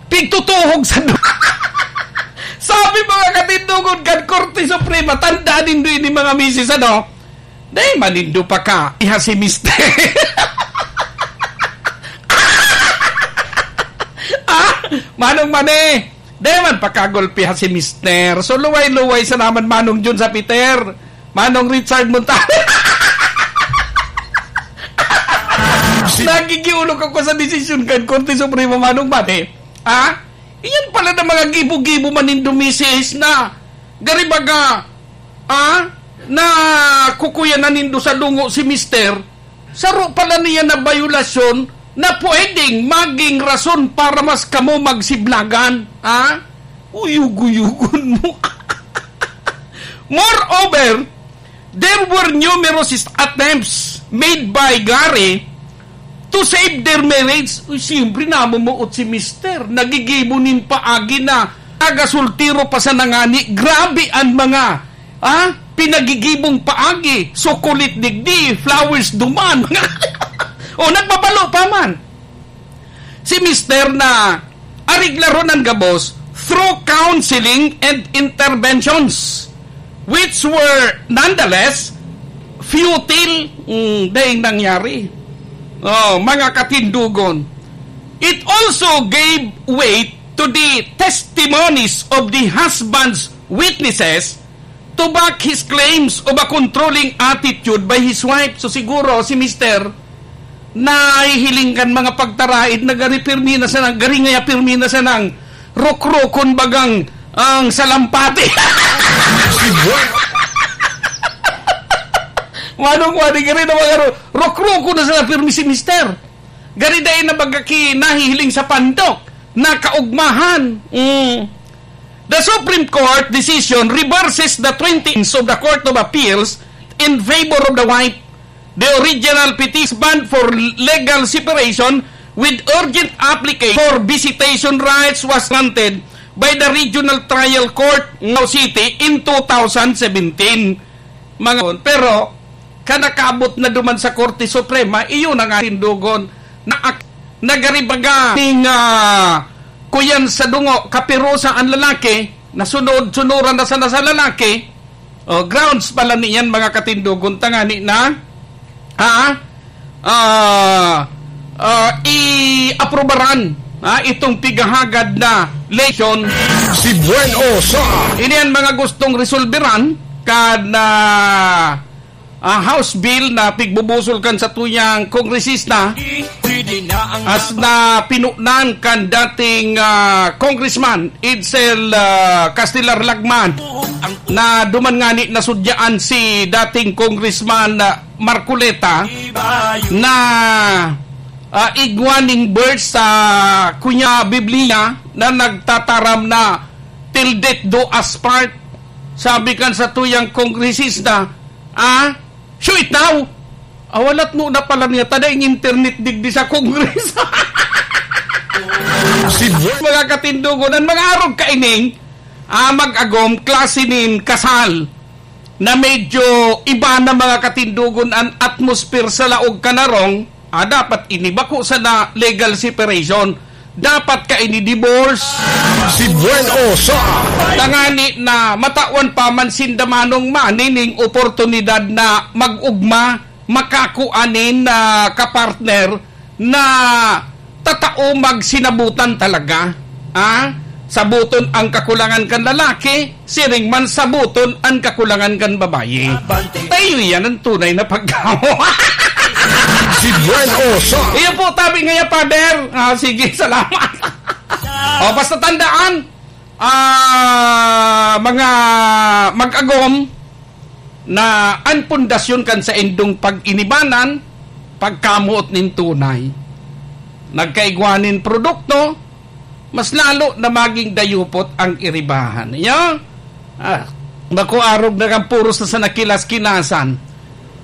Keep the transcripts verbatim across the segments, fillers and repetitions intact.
pigtutuhog sa du-, Sabi, mga katindogon kan Korte Suprema, tandaan nindo ini, mga misis, ano? Dai man nindo pa ka, iha si mister. Ah, Manong Mane, dai man pa kagulpihan si mister. So, luway-luway sa naman, Manong Jun sa Peter. Manong Richard Montano. Nagigiulog ako sa desisyon kan Korte Suprema, Manong Mane. Ha? Iyan pala na mga gibo-gibo man nindo, misis, na gari baga, ah, na kukuya na nindo sa dungo si mister, saro pala niya na bayolasyon na pwedeng maging rason para mas kamo magsiblagan, ah? Uyug-uyugon mo. Moreover, there were numerous attempts made by Gary to save their marriage. Uy, siyempre, namumuot si mister. Nagigibo nin paagi na nagasultiro pa sa nangani. Grabe an mga, ah, pinagigibong paagi. Sukulit digdi, flowers duman. O, nagbabalo pa man si mister na areglaron an gabos through counseling and interventions, which were nonetheless futile. Mm, daing nangyari. Oh, mga katindogon. It also gave weight to the testimonies of the husband's witnesses to back his claims of a controlling attitude by his wife. So, siguro si mister nahihiling kan mga pagtaraid na gari pirmi na sanang, gari ngaya pirmi na sanang rukrukon bagang ang salampati. Manong Wadi, gari na mga ru-, rukrukon na sana pirmi si mister. Gari dai na baga ki nahihiling sa pandok na kaugmahan. Mm. The Supreme Court decision reverses the twenty of the Court of Appeals in favor of the wife. The original petition bond for legal separation with urgent application for visitation rights was granted by the Regional Trial Court, Ngao City, in two thousand seventeen. Mga, pero, kanakabot na duman sa Korte Suprema, iyon ang ating dugon na ak-, nagaribaga ning, ah, kuyan sa dungo, kapirusa ang lalaki, nasunod-sunuran na sana sa lalaki. O, grounds pala niyan, mga katindogon, tangani na, ah, ah, ah, i-aprobaran, ah, itong pigahagad na lesion. Si Buen Osa. Ini ang mga gustong resolberan kan, ah, ah, House Bill na pigbubusol kan satuyang kongresista as na pinunan kan dating, ah, Congressman Edsel, ah, Castelar Lagman, na duman ngani nasudyaan si dating Congressman, ah, Marcoleta na, ah, igwa ning verse sa kunya Biblia na nagtataram na "Till death do us part." Sabi kan satuyang kongresista, ah, "Sure itaw." Awalat no na pala niya, tada ing internet digdi sa Congress. Si Buen. Mga katindogon, ang mga arog kaining, ah, mag-agom, klase nin kasal na medyo iba na, mga katindogon, ang atmosphere sa laog kan harong, ah, dapat ini bako sana legal separation. Dapat kaini divorce. Si Buen Osa. Tangani na matawan pa man sinda Manong Mane ning oportunidad na mag-ugma, makakua nin, ah, kapartner na tatao magsinabutan talaga. Ah? Sabuton ang kakulangan kan lalaki, siring man sabuton an kakulangan kan babayi. Tayo yan ang tunay na pagkawa. Si Buen Osa. Iyo po, tabi ngaya, Father. Ah, sige, salamat. O, basta tandaan, ah, mga mag-agom, na an pundasyon kan saindong pag-inibanan, pagkamoot nin tunay. Nagkaigwa nin produkto, mas lalo na maging dayupot ang iribahan. Iyo? Ah, naku, arog na kan puros na sa nakilas-kilasan.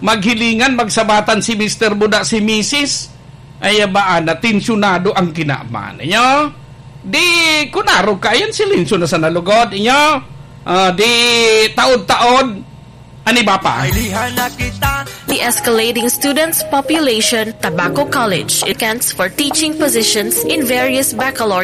Maghilingan, magsabatan si Mister Buda, si Misis. Ay, abaan, natensyonado ang kinaman. Iyo? Di, kun arog ka, ayan, silensyo na sa nalugod. Iyo? Ah, di, taod-taod, an iba pa. Kailihan na kita. The escalating students population, Tabaco College, applicants for teaching positions in various baccalaureate